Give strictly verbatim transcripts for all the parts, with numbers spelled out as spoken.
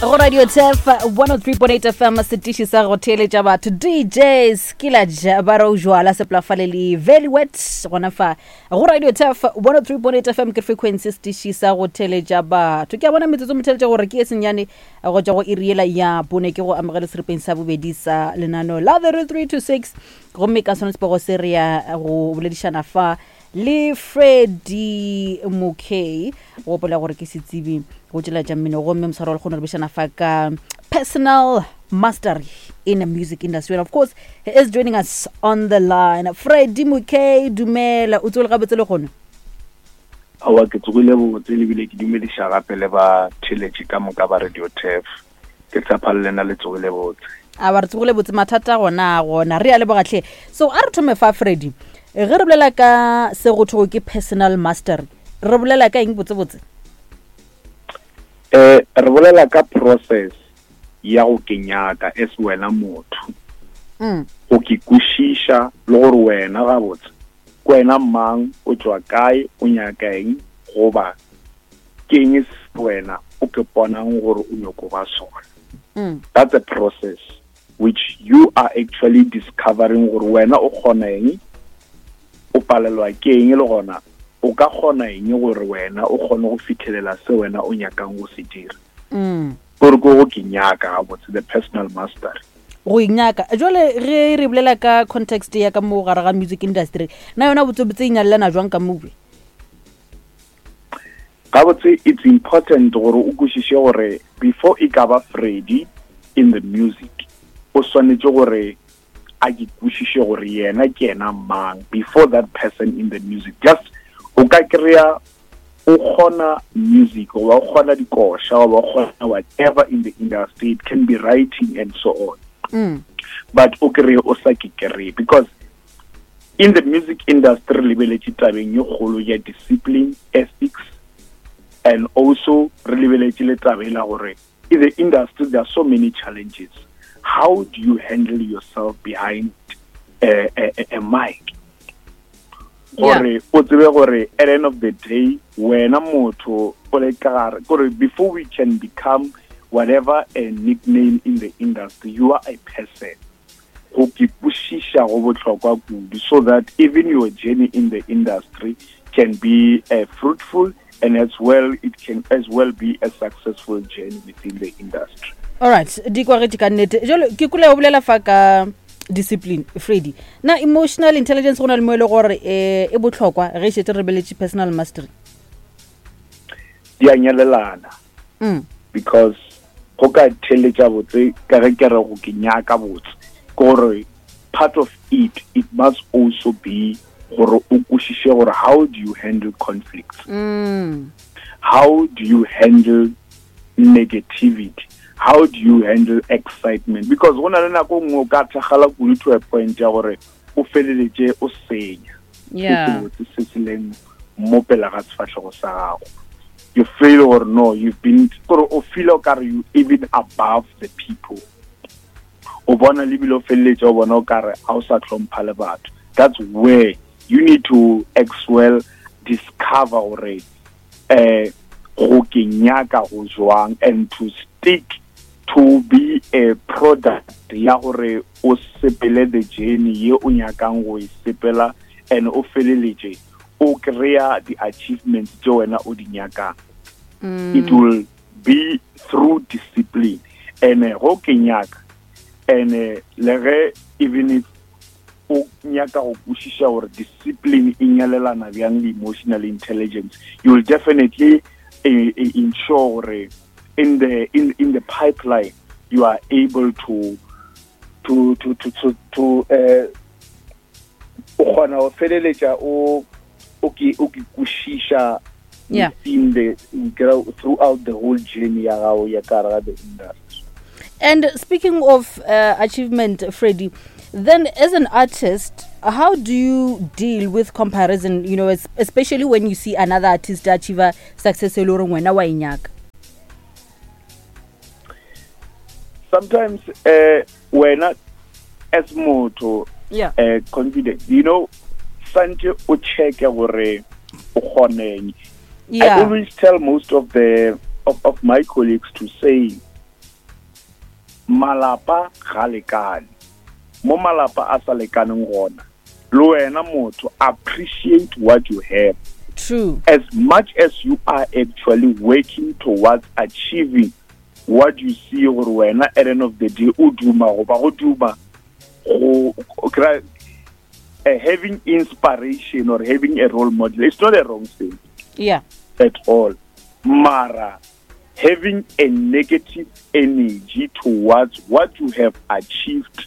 Go Radio Tef one oh three point eight F M, setiši sa go theeletša batho. D J Skillage ba re o jwala seplafale le Very Wet gona fa go Radio Tef one oh three point eight F M, ke frequency, setiši sa go theeletša batho. Ke a bona metsotso motheletša gore ke e senyane go tšwa go iriela ya bone. Ke go amogele seripeng sa bobedi sa lenano la The Real three two six, gomme ka sone sepego se re ya go boledišana fa le Freddy Mokay. Gopola gore ke setsebi go tšela tša mmino, gomme moswaro wa le kgone re bišana fa ka personal mastery in the music industry, and of course he is joining us on the line. Freddy Mokay, dumela, o tswele gabotse le kgone? Aowa, ke tsogile botse, lebile ke dumediša gape le ba theletše ka moka ba Radio Tef. Ke tshepa le lena le tsogile botse. A ba re tsogile botse, mathata gona gona, re a lebogatlhe. So a re thome fa, Freddy, ge re bolela ka se go thwego ke personal mastery, re bolela ka eng botsebotse? um re bolela ka process ya go kenyaka as wena motho, mm. go ke kwešiša le gore wena gabotse ke wena mang, o tšwa kae, o nyaka eng, goba ke eng se wena o ke ponang gore o nyako ba sona. Mm. That's a process which you are actually discovering gore wena o kgona eng, o palelwa ke eng, le gona o ka kgona eng gore wena o kgone go fitlhelela se wena o nyakang go se dira. Mm. Gore ke go ke nyaka gabotse, the personal mastery. Go inyaka. Jale ge re bolela ka context ya ka mo gare ga music industry, na yona botsebotse e nyalelana jwang ka mobe? Gabotse it's important gore o kwešiše gore before e ka ba Freddy in the music, o swanetše gore a ke kwešiše gore yena ke yena mang before that person in the music. Just o ka kry-a o kgona music goba o kgona dikoša goba o kgona whatever in the industry, it can be writing and so on, mm. but o kry-e o sa ke kry-e, because in the music industry re lebeletše tabeng ye kgolo ya discipline, ethics, and also re lebeletše le taba e la gore in the industry there are so many challenges. How do you handle yourself behind a, a, a, a mic, gore o tsebe gore at the end of the day wena motho o le ka gare, gore before we can become whatever a nickname in the industry, you are a person. Go ke kwešiša go bohlokwa kudu, so that even your journey in the industry can be uh, fruitful, and as well it can as well be a successful journey within the industry. Alright, di kwagetše ka nnete. Jalo ke kule o bolela fa ka discipline, Freddy. Na emotional intelligence go na le mo e le gore um e botlhokwa ge e šetse re beletše personal mastery? Di a nyalelana, mm. because go ka theletša botse ka ge ke re go ke nyaka botse, ke gore part of it, it must also be gore o kwešiše gore how do you handle conflicts, Mm. how do you handle negativity, how do you handle excitement, because go na le nako nngwe o ka thakgala kudu to a point ya gore o feleletše o senya yeah se sebotse se se leng mo pela ga sefahlego sa gago. You feel gore no, you've been, gore o feel o kare you even above the people, o bona le bile o feleletše o bona o kare ga o sa hlompha le batho. That's where you need to as well discover gore eh go ke nyaka go jwang, and to stick to be a product ya gore o sepele the journey ye o nyakang go e sepela, and o feleletše o kry-a di-achievements tše wena o di nyakang. mm. It will be through discipline and eh, go ke nyaka, and eh, le ge even if o nyaka go kwešiša gore discipline e nyalelana bjang le emotional intelligence, you will definitely uh, ensure gore in the in, in the pipeline you are able to to to to to, to uh, o kgona go feleletša o o ke o ke kwešiša Yeah. within the throughout the whole journey ya gago ya ka gare ga the industry. And speaking of uh, achievement, Freddie, then as an artist, how do you deal with comparison, you know, es- especially when you see another artist achieve success e le goreng wena wa e nyaka? Sometimes uh wena as motho, Yeah. uh confident, you know santse o checke gore o kgoneng. I Yeah. always tell most of the of, of my colleagues to say Malapa ga lekane. Mo malapa a sa lekaneng gona, le wena motho appreciate what you have. True. As much as you are actually working towards achieving what you see gore wena at the end of the day o duma goba go duma go kry uh, having inspiration or having a role model, it's not a wrong thing. Yeah. At all. Mara having a negative energy towards what you have achieved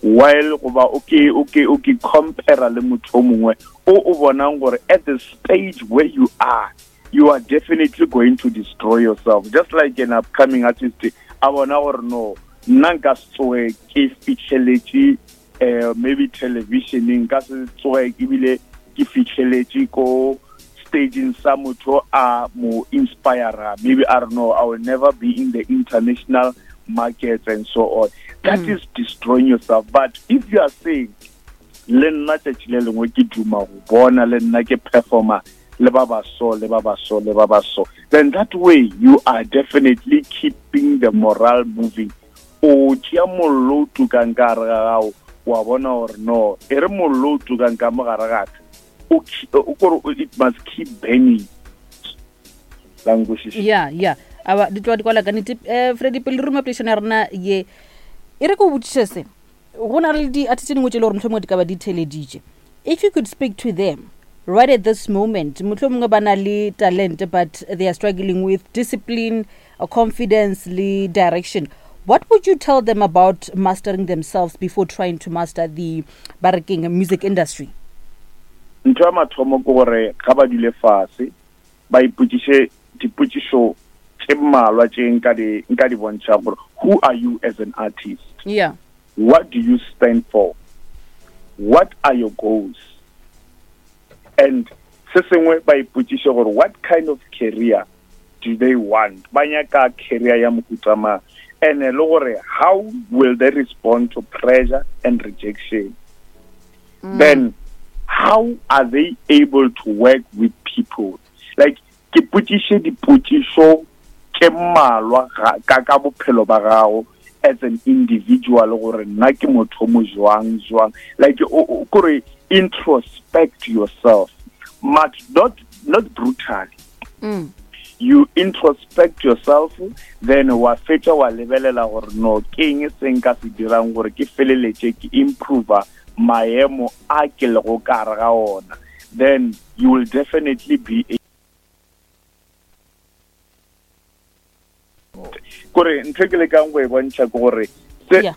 while goba okay okay okay compare le motho o mongwe o o bonang gore at the stage where you are, you are definitely going to destroy yourself. Just like an upcoming artist a bona gore no, nna nka se tsoge ke fitlheletše eh maybe televisioning, nka se tsoge ebile ke fitlheletše ko staging sa motho a mo inspire, maybe I don't know, I will never be in the international markets and so on. That Mm. is destroying yourself. But if you are saying le nna tšatši le lengwe ke duma go bona le nna ke performer le ba ba so le ba ba so le ba ba so, then that way you are definitely keeping the morale moving. O tšea mollo o tukang ka gare ga gago, wa bona gore no, e re mollo o tukang ka mo gare ga ka, o ki-, o kore o-, it must keep burning. La nkwešiša? Yeah, yeah. Aba, di tloga di kwala ka nnete. Eh, Freddy, pele re ruma poledišano ya rena ye, e re ke o botšiše se. Go na le di-artist tse dingwe tse e le gore mohlomongwe di ka ba di theeleditše. If you could speak to them right at this moment, mohlomongwe ba na le talent but they are struggling with discipline, uh, confidence le direction, what would you tell them about mastering themselves before trying to master the ba re keng music industry? Ntho ya mathomo ke gore ga ba dule fase ba ipotšiše dipotšišo tše mmalwa tše nka di, nka di bontšha gore who are you as an artist? Yeah. What do you stand for? What are your goals? And se sengwe ba ipotšiše gore what kind of career do they want? Ba nyaka career ya mohuta mang? And le gore how will they respond to pressure and rejection? Mm. Then how are they able to work with people? Like ke potšiše dipotšišo tše mmalwa ga-, ka, ka bophelo ba gago as an individual gore nna ke motho mo jwang, jwang. Like o, o, kore introspect yourself, but not, not brutally. Mm. You introspect yourself, then wa fetša wa lebelela gore no, ke eng se nka se dirang gore ke feleletše ke improve maemo a ke lego ka gare ga ona. Then you will definitely be a kore ntho e ke lekang go e bontšha ke gore se Yeah.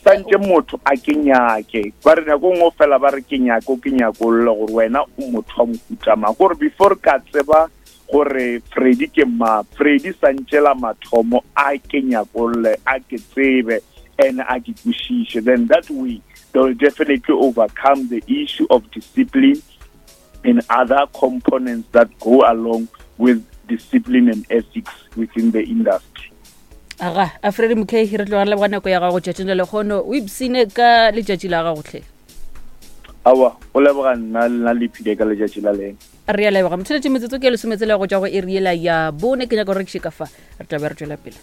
santse motho a ke nyake. Ba re nako nngwe fela ba re ke nyako, ke nyako lla gore wena o motho wa mohuta mang. Gore before ka tseba gore Freddy ke mang, Freddy santse la mathomo a ke nyakolle, a ke tsebe and a ke kwešiše. Then that way they will definitely overcome the issue of discipline and other components that go along with discipline and ethics within the industry. Aga, a Freddy Mokhehi, re tloga re leboga nako ya gago tšatšing la lehono. O ipsine ka letšatši la gago hle. Aowa, o leboga nna, le nna le iphile ka letšatši la leng. Re a leboga. Motšheletše metsotso ke lesometsela go tšwa go iri yela ya bone. Ke nyaka go rekiše ka fa, re tla be re tšwela pele.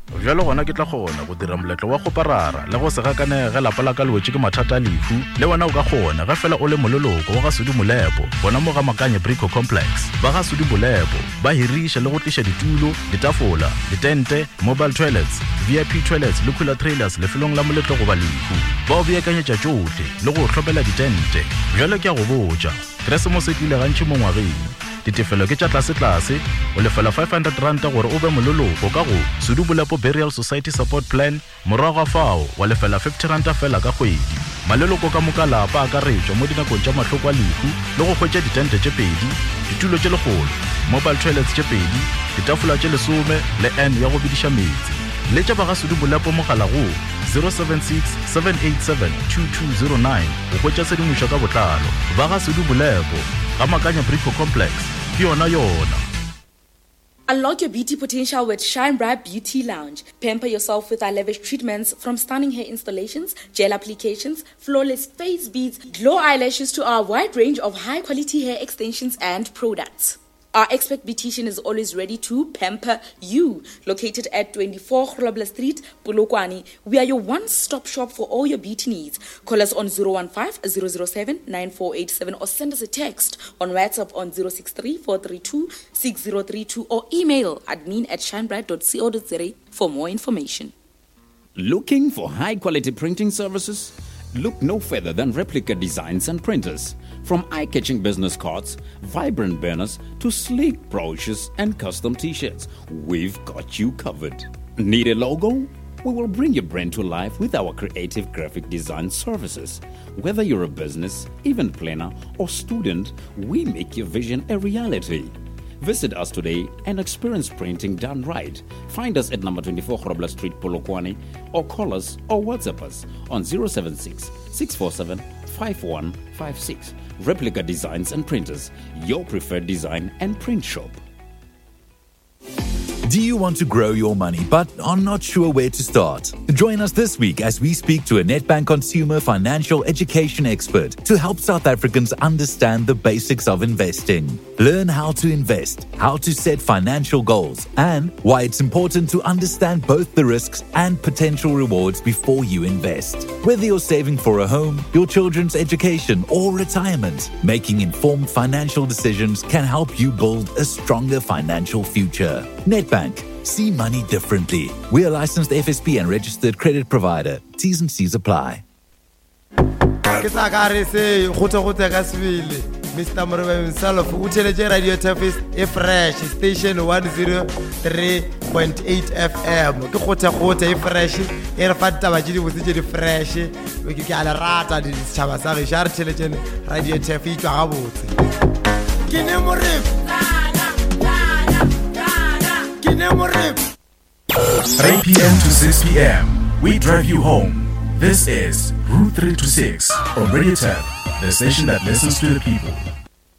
Bjalo gona ke tla kgona go dira moletlo wa go parara le go se gakanege ge lapa la ka le wetše ke mathata a lehu. Le wena o ka kgona ge fela o le moleloko wa ga Sudi Molepo, gona mo ga Makanye Brico Complex. Ba ga Sudi Molepo ba hiriša le go tliša ditulo, ditafola, ditente, mobile toilets, V I P toilets le cooler trailers lefelong la moletlo goba lehu. Ba o beakanyetša tšohle le go hlopela ditente. Bjalo ke a go botša, Keresemose e tlile gantši mo ngwageng. Ditefelo ke tša tlase-tlase, o lefela five hundred ranta gore o be moleloko ka go Sudi Molepo Burial Society Support Plan, morago ga fao wa lefela fifty ranta fela ka kgwedi. Maleloko ka moka lapa a akaretšwa mo dinakong tša mahloko a lehu le go hwetša ditente tše pedi, ditulo tše lekgolo, mobile toilets tše pedi, ditafola tše lesome le N ya go bediša meetse. Letša ba ga Sudi Molepo mogala go zero seven six, seven eight seven, two two zero nine go hwetša tshedimošo ka botlalo. Ba ga Sudi Molepo, ga Makanya Brico Complex, ke yona yona. Unlock your beauty potential with Shine Bright Beauty Lounge. Pamper yourself with our lavish treatments, from stunning hair installations, gel applications, flawless face beads, glow eyelashes to our wide range of high-quality hair extensions and products. Our expert beautician is always ready to pamper you. Located at twenty-four Grobler Street, Polokwane, we are your one-stop shop for all your beauty needs. Call us on zero one five, zero zero seven, nine four eight seven or send us a text on WhatsApp on zero six three, four three two, six zero three two or email admin at shinebright dot co dot za for more information. Looking for high-quality printing services? Look no further than Replica Designs and Printers. From eye-catching business cards, vibrant banners, to sleek brochures and custom t-shirts, we've got you covered. Need a logo? We will bring your brand to life with our creative graphic design services. Whether you're a business, event planner, or student, we make your vision a reality. Visit us today and experience printing done right. Find us at number twenty-four Grobler Street, Polokwane, or call us or WhatsApp us on zero seven six, six four seven, five one five six. Replica Designs and Printers, your preferred design and print shop. Do you want to grow your money but are not sure where to start? Join us this week as we speak to a Nedbank consumer financial education expert to help South Africans understand the basics of investing. Learn how to invest, how to set financial goals, and why it's important to understand both the risks and potential rewards before you invest. Whether you're saving for a home, your children's education, or retirement, making informed financial decisions can help you build a stronger financial future. Nedbank. See money differently. We are licensed F S P and registered credit provider. T's and C's apply. Ke tla ka re se gote gote ka sebele. Mister Morebe himself o theletše Radio Turfis e fresh station one oh three point eight F M. Ke gote gote e fresh e re fa ditaba tše di botse tše di fresh. Ke ke a le rata di setšhaba sa gešo, a re theletšeng Radio Turf e tšwa gabotse. Ke ne Morebe. three p m to six p m, we drive you home. This is Route three to six on Radio Turf, the station that listens to the people.